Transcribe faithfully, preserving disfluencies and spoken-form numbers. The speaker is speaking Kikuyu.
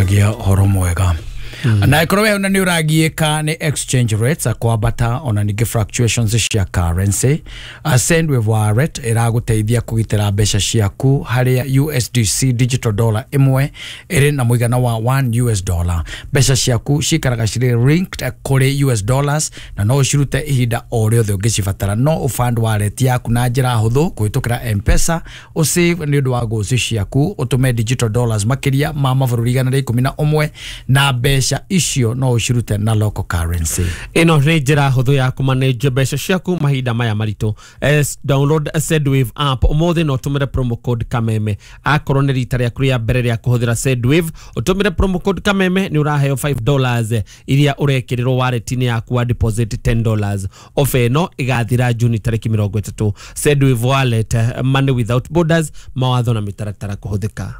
Twaragia horo mwega. Na ikorwo we ona nĩ ũragiĩka nĩ exchange rates kwambata ona ningĩ fluctuations cia currency, Sendwave Wallet ĩragũteithia kũgitĩra mbeca ciaku, harĩa U S D C digital dollar ĩmwe ĩrĩ na mũigana wa one U S dollar. Mbeca ciaku cikaraga cirĩ linked kũrĩ U S dollars na no ũcirute ihinda o rĩothe ũngĩcibatara. No ũfund wallet yaku na njĩra hũthũ kũhĩtũkĩra M-Pesa, ũsave nĩ ũndũ wa goals ciaku, ũtũme digital dollars makĩria ma mabũrũri igana rĩa ikũmi na ũmwe, na mbeca icio no ũcirute na local currency. Ĩno nĩ njĩra hũthũ ya kũmanage mbeca ciaku mahinda maya maritũ. Eh, download Sendwave app ũmũthĩ na ũtũmĩre promo code Kameme. Akorwo nĩ rita rĩaku rĩa mbere rĩa kũhũthĩra Sendwave, ũtũmĩre promo code Kameme nĩ ũraheo five dollars iria ũrekĩrĩrwo wallet-inĩ yaku wa deposit ten dollars. Ofa ĩno ĩgathira Juni tarĩki mĩrongo ĩtatũ. Sendwave Wallet, eh, money without borders. Mawatho na mĩtaratara kũhũthĩka.